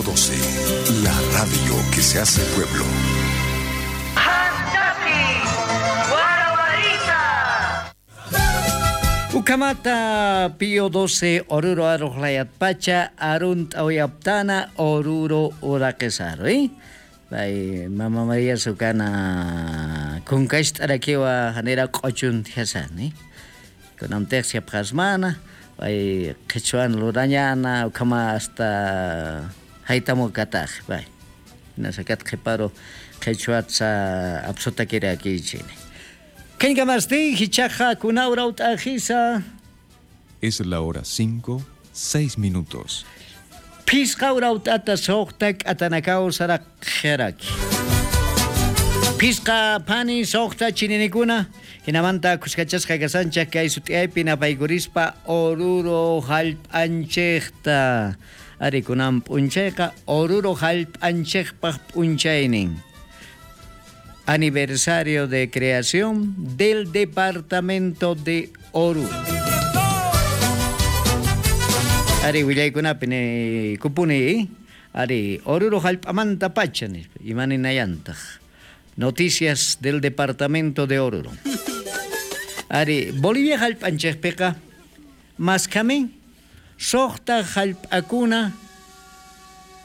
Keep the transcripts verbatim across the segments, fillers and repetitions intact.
Pío doce, la radio que se hace pueblo. Ukamata Pío doce Oruro Arujlayat Pacha Arunt Oyaptana Oruro Uraquesaro, ¿eh? Bay Mama María Sukana Kunkasht Arakiwa Hanera Qochun Hasan, ¿eh? Kunamtexia Pjasmana, bay Quechuan Lurañana, Ukama hasta Haitamo Kataj, bay. Nasakat Qhiparo Quechuatsa Absotakira Kichini. Es la hora cinco, seis minutos. Pisqa urautata soqtak atanakaw saraq jeraki. Pisqa pani soqta chininikuna hinamanta kuskachasqa kasanchaq kay sut'iyaypi napaykurispa Oruro hallp'anchikta. Ari kunan p'unchayqa Oruro hallp'anchikpaq p'unchaynin. Aniversario de creación del departamento de Oruro. Ari willaykunapi ni kupuni, ari Oruro hallp'amanta pacha nispa imaninayantaq. Noticias del departamento de Oruro. Ari Bolivia hallp'anchikpiqa maskamin suqta hallp'akuna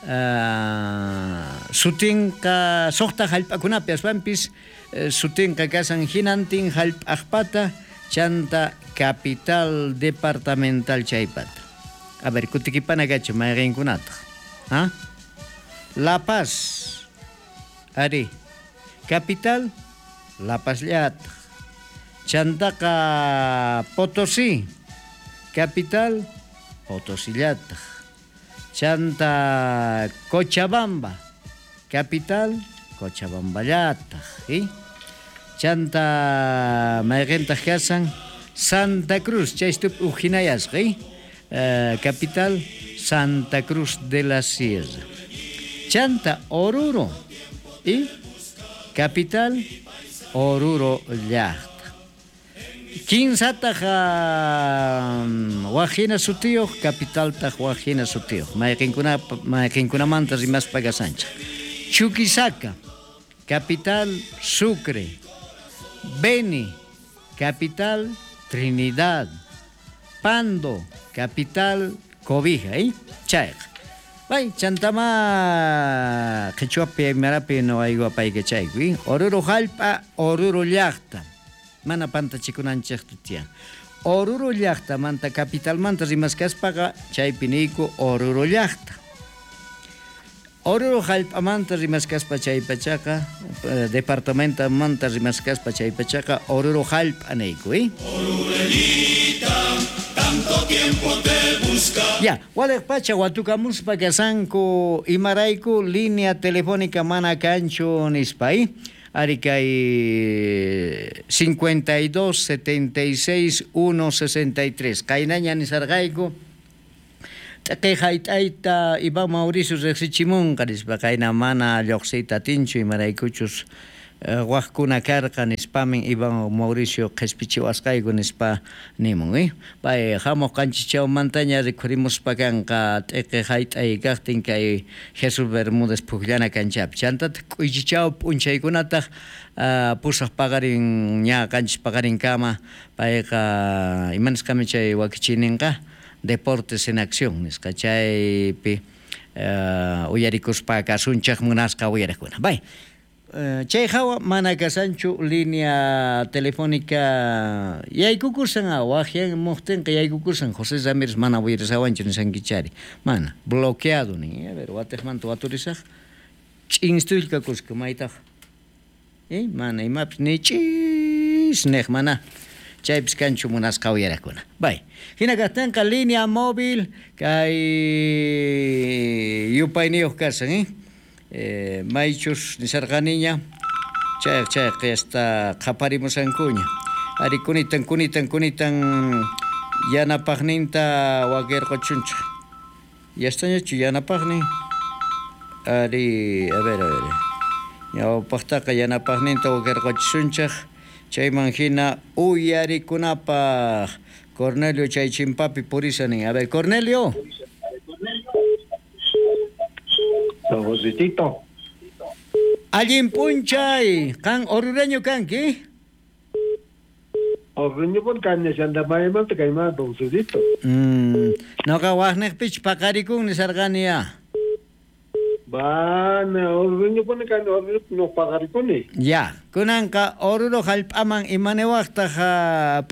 Uh, sutinqa suqta hallp'akunapi aswanpis uh, sutinqa kasan hinantin hallp'aqpata chanta capital departamental chaypata. A ver, kutikipana kachu mayqinkunataq. ¿Ah? La Paz. Ari. Capital La Paz llataq. Chantaqa Potosí. Capital Potosí llataq. Chanta Cochabamba, capital Cochabamba llataq, ¿sí? Chanta mayqintaq kasan Santa Cruz, chaystup ujinayasqa, ¿sí? Uh, capital Santa Cruz de la Sierra. Chanta Oruro, ¿sí? Capital Oruro llaqta. Kinsataq wajina sutiyuq, capitaltaq wajina sutiyuq. Mayqinkuna mayqinkunamanta rimaspa kasanchik. Chuquisaca, capital Sucre. Beni, capital Trinidad. Pando, capital Cobija, ¿eh? Chayqa. Bay, chantama qhichwapi aymarapi no aywapaykichayku, ¿eh? Oruro hallp'a, Oruro llaqta. Mana pantachikunanchikta tiyan. Oruro llaqtamanta capitalmanta rimaskaspaqa chaypi niyku Oruro llaqta. Oruro hallp'amanta rimaskaspa chaypachaqa, departamentamanta rimaskaspa chaypachaqa Oruro hallp'a niyku, ¿eh? Orurelita, tanto tiempo te busca. Ya, waliq pacha watukamuspa kasanku imarayku línea telefónica mana kanchu nispa, ¿eh? Ari kay cincuenta y dos, setenta y seis, uno, sesenta y tres. Qaynaña nisarqayku t'aqi hayt'ayta Iván Mauricio riqsichimunqa nispa qayna mana lluqsiyta atinchu imaraykuchus waqkuna karqa nispamin Iván Mauricio qhispichiwasqayku nispa nimun, eh? Pay hamuq qanchischawmantaña rikhurimuspa kanqa t'iqi hayt'ay kaqtin kay Jesús Bermúdez pukllana kanchapi. Chantataq k'uychichaw p'unchaykunataq uh, pusaq paqarin ña qanchis paqarinkama payqa imanisqami chay wakichininqa Deportes en Acción nisqa chaypi uh, uyarikuspa kasunchaq munasqa uyariqkuna. Bay. Uh, chay hawa mana kasanchu línea telefónica yaykukusan waqyan muqtinqa yaykukusan José Ramírez mana uyarisawanchu nisankichari mana bloqueado nin, a ver watiqmanta waturisaq ch'instullkakusqa maytaq eh mana imapis ni ch'is niq mana chaypis kanchu munasqa uyariqkuna. Bay, hina kaqtinqa línea móvil kay yupayniyuq kasan, eh? Eh, maychus nisarqaniña chayq chayq hasta qhaparimusankuña ari kunitan kunitan kunitan yanapaqninta wakirquchunchik yastañachu yanapaqnin ari a ver a ver ñawpaqtaqa yanapaqninta wakirquchisunchik chayman hina uyarikunapaq Cornelio chay chimpapi purisanin. A ver, Cornelio. Josecito. Allin p'unchay, qan orureño kanki? Orureño pun kañashantapaymanta kayman don Josecito. Mm, noqa waqniqpich paqarikun nisarqani ya. Bana, orureño pun kani orureño no paqarikuni. Ya, kunanqa Oruro hallp'aman imaniwaqtaq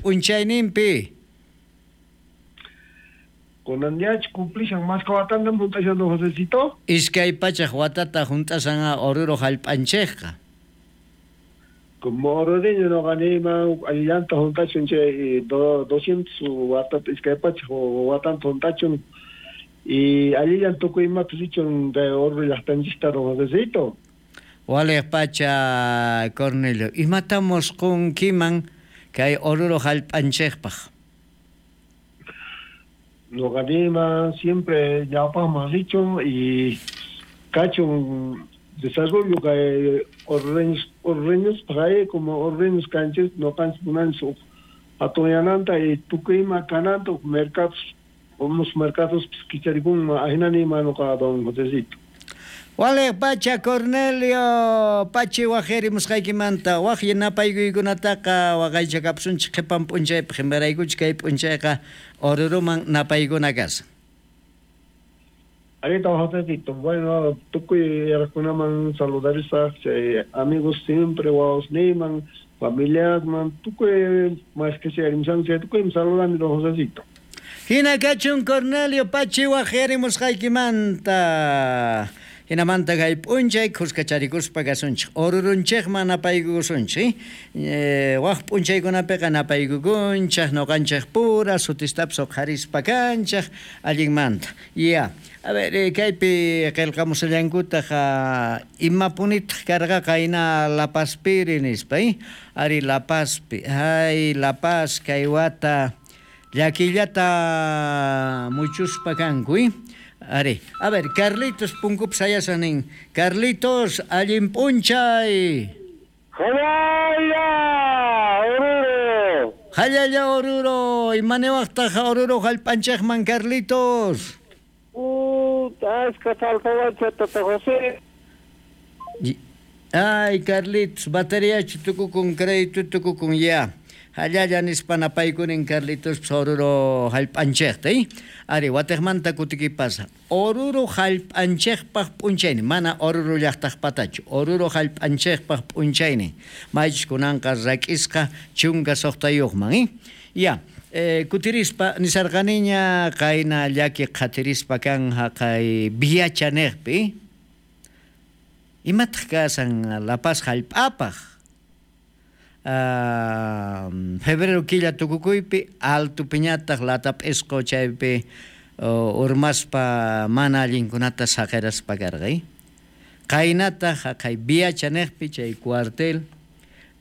p'unchayninpi? Kunan ñach cumplishan mashka watantam hunt'ashan don Josecito. Iskay pachaq watata hunt'ashan Oruro hallp'anchikqa. Como orureño noqaniyman allillanta hunt'achun chay doscientos watata iskay pachaq watanta hunt'achun y allillan tukuy imapis richun de Oruro llaqtanchista don Josecito. Waliq pacha Cornelio, imatamos qunkiman kay Oruro hallp'anchikpaq? Noqaniyman siempre ñawpaqman richun y kachun desarrollo kay orureños orureños paqay como orureños kanchis noqanchis munanchis hatunyananta y tukuy ima kananta mercados unos mercados kicharikunman ahinaniyman noqa don Josecito. Waliq pacha Cornelio, pachi waqyarimusqaykimanta waq yanapaykuykunataqa waqaychakapusunchik qhipan p'unchaypaq imaraykuchik kay p'unchayqa Oruruman napaykuna kashan. Ahorita Josecito, bueno, tukuy yaraqkunaman saludarisaq chay amigos siempre wawasniyman, familiasman, tukuy más que sea chay tukuyman saludani don Josecito. Hina kachun Cornelio, pachi waqyarimusqaykimanta. Hinamanta kay p'unchay khuskacharikuspa kasunchik Orurunchikman napaykusunchik eh, waq p'unchaykunapiqa napaykukunchik noqanchik pura sutistapis uqharispa kanchik allinmanta. Ya, a ver, eh, kaypi qillqamusallankutaq imapunitaq karqaqa hina La Pazpiri nispa, eh? Ari La Pazpi, ay La Paz kay wata llakillata muchuspa kanku, eh? Ari, a ver, Carlitos punkup sayasan nin. Carlitos, allin p'unchay. Jalalla, Oruro. Jalalla, Oruro. Imaniwaqtaq Oruro hallp'anchikman, Carlitos? Puta, ashka faltawancha tata José. Ay, Carlitos, bateriachu tukukun, crédito tukukun, ya. Jalalla nispa napaykunin Carlitos Oruro hallp'anchikta, eh? Ari, watiqmanta kutikipasa. Oruro hallp'anchikpaq p'unchaynin, mana Oruro llaqtaqpatachu. Oruro hallp'anchikpaq p'unchaynin. Maychus kunanqa rak'isqa chunka suqtayuqman, eh? Ya, eh, kutirispa nisarqaniña qayna llaki qhatirispa kan haqay Viacha niqpi, eh? Imataq kasan La Paz hallp'apaq? Uh, febrero killa tukukuypi alto piñataq latap'isqu chaypi uh, urmaspa mana allinkunata saqiraspa karqa, eh? Qaynataq haqay Viacha niqpi chay cuartel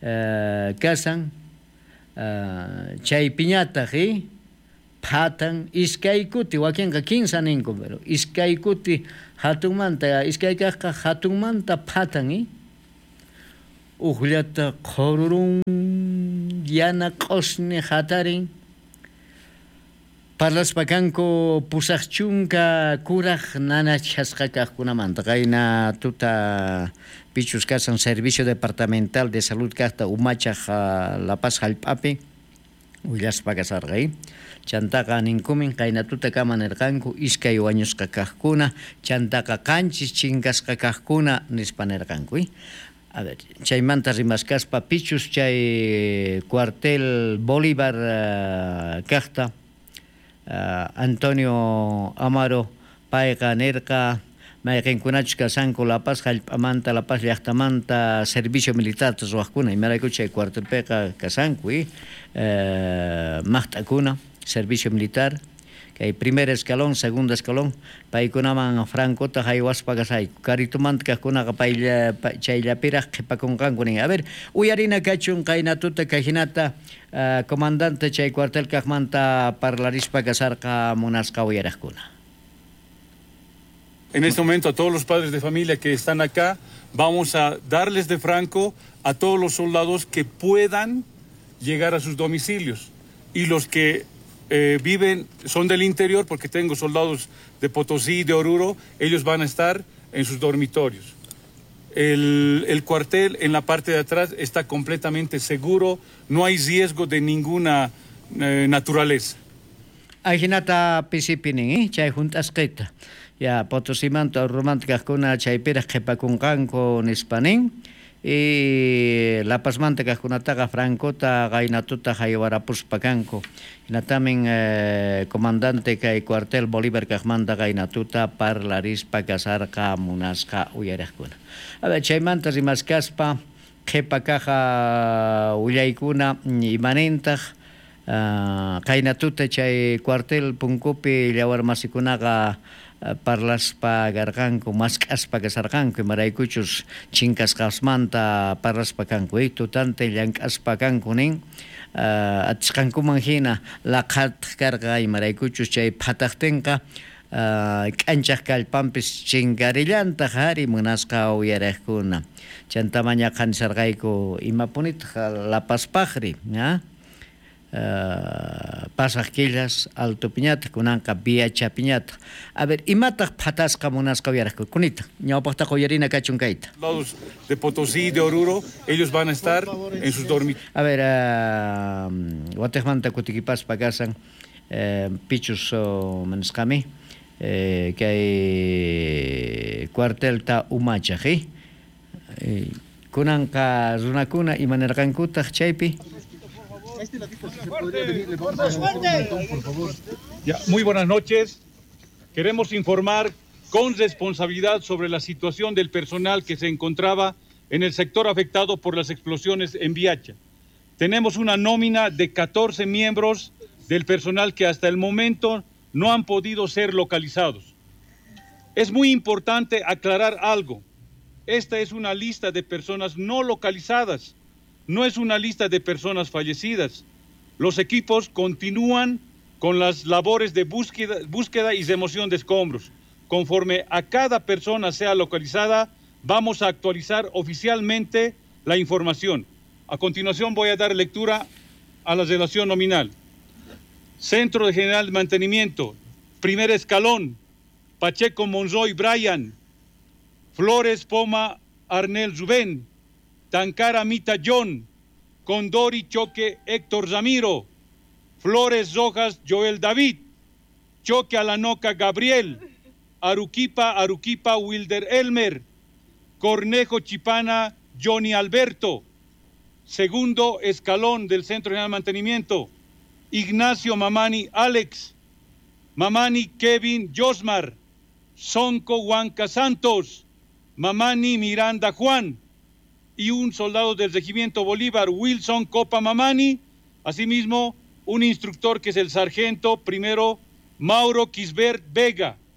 uh, kasan uh, chay piñataq, eh? Phatan iskay kuti wakinqa kinsa ninku pero iskay kuti hatunmanta iskay kaqqa hatunmanta phatan, eh? Uqllata qhururun yana q'usni hatarin parlaspa kanku pusaq chunka kuraq nanachasqa kaqkunamanta qayna tuta pichus kasan Servicio Departamental de Salud kaqta umachaq La Paz hallp'api willaspa kasarqa, eh? Chantaqa ninkumin qayna tuta kama nirqanku iskay wañusqa kaqkuna chantaqa qanchis chinkasqa kaqkuna nispa nirqanku, eh? A ver, chaymanta rimaskaspa pichus chay cuartel Bolívar uh, kaqta uh, Antonio Amaro payqa nirqa mayqinkunachus kasanku La Paz hallp'amanta La Paz llaqtamanta servicio militar ruwaqkuna imarayku chay cuartelpiqa kasanku, eh? Uh, maqt'akuna servicio militar kay primer escalón, segundo escalón paykunaman Francota haywaspa kasayku karitumanta kaqkunaqa paylla chayllapiraq qhipakunqanku nin. A ver, uyarina kachun qayna tuta kayhinata uh, comandante chay cuartel kaqmanta parlarispa kasarqa munasqa uyaraqkuna. En este momento a todos los padres de familia que están acá vamos a darles de franco a todos los soldados que puedan llegar a sus domicilios y los que Eh, viven, son del interior, porque tengo soldados de Potosí, de Oruro, ellos van a estar en sus dormitorios. El, el cuartel en la parte de atrás está completamente seguro, no hay riesgo de ninguna eh, naturaleza. Ajinata pisipinin, eh? Chay junt'asqita. Ya Potosimanta Oruromanta kajkuna chaypiraj qhipakunqanku nispa nin. Y La Pazmanta kajkunataqa Francota qaynatuta haywarapuspa kanku. Hinatamin eh, comandante kay cuartel Bolívar kajmanta qaynatuta parlarispa kasarqa munasqa uyariqkuna. A ver, chaymanta rimaskaspa qhipa kaja willaykuna imanintaq uh, qaynatuta chay cuartel punkupi llawarmasikunaqa parlaspa karqanku mask'aspa kasarqanku imaraykuchus chinkasqasmanta parlaspa kanku eh, tutante llank'aspa kanku nin uh, atisqankuman hina laqhataq karqa imaraykuchus chay phataqtinqa uh, k'anchaq kallpanpis chinkarillantaq ari munasqa uyariqkuna chanta mañaqa nisarqayku imapunitaq La Pazpaqri ¿ah? Uh, pasaq killas altopiñataq kunanqa Viachapiñataq. A ver, imataq phatasqa munasqa uyariqku kunita ñawpaqtaqa uyarina kachun kayta. Lados de Potosí, de Oruro, ellos van a estar en sus dormitorios. A ver, uh, watejmanta kutikipaspa kasan eh, pichus oh, manisqami eh, kay cuartelta umachaq eh? Eh, kunanqa runakuna imanirqankutaq chaypi. Este ladito, si se podría venir, le vamos a agradecer un montón, por favor. Ya, muy buenas noches. Queremos informar con responsabilidad sobre la situación del personal que se encontraba en el sector afectado por las explosiones en Viacha. Tenemos una nómina de catorce miembros del personal que hasta el momento no han podido ser localizados. Es muy importante aclarar algo. Esta es una lista de personas no localizadas. No es una lista de personas fallecidas. Los equipos continúan con las labores de búsqueda, búsqueda y remoción de escombros. Conforme a cada persona sea localizada, vamos a actualizar oficialmente la información. A continuación voy a dar lectura a la relación nominal. Centro de General de Mantenimiento, primer escalón, Pacheco Monroy Brian, Flores Poma Arnel Rubén, Tancara Mita John, Condori Choque Héctor Ramiro, Flores Rojas Joel David, Choque Alanoca Gabriel, Aruquipa Aruquipa Wilder Elmer, Cornejo Chipana Johnny Alberto, segundo escalón del Centro General de Mantenimiento, Ignacio Mamani Alex, Mamani Kevin Josmar, Sonco Huanca Santos, Mamani Miranda Juan, y un soldado del Regimiento Bolívar, Wilson Copa Mamani, asimismo un instructor que es el sargento primero Mauro Quisbert Vega.